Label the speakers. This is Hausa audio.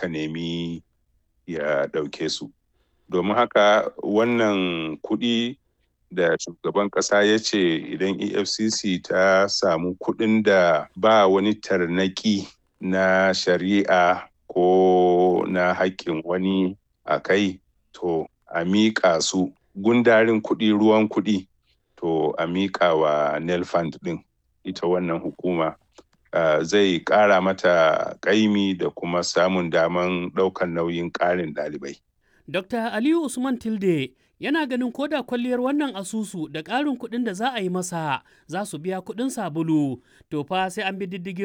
Speaker 1: suka nemi ya ɗauke su. Domin haka wannan kuɗi da shugaban ƙasa ya ce idan EFCC ta samu kuɗin da ba wani tarnaƙi na shari'a ko na haƙƙin wani a kai, to a miƙa su gundarin kuɗi, ruwan kuɗi, to a miƙa wa NELFUND ɗin, ita wannan hukuma, zai ƙara mata ƙaimi da kuma samun daman ɗaukan nauyin ƙarin ɗalibai.
Speaker 2: Dr. Aliyu Usman Tilde yana ganin koda kwalliyar wannan asusu da ƙarin kuɗin da za a yi masa za su biya kuɗin sabulu, to fa sai an bi diddigin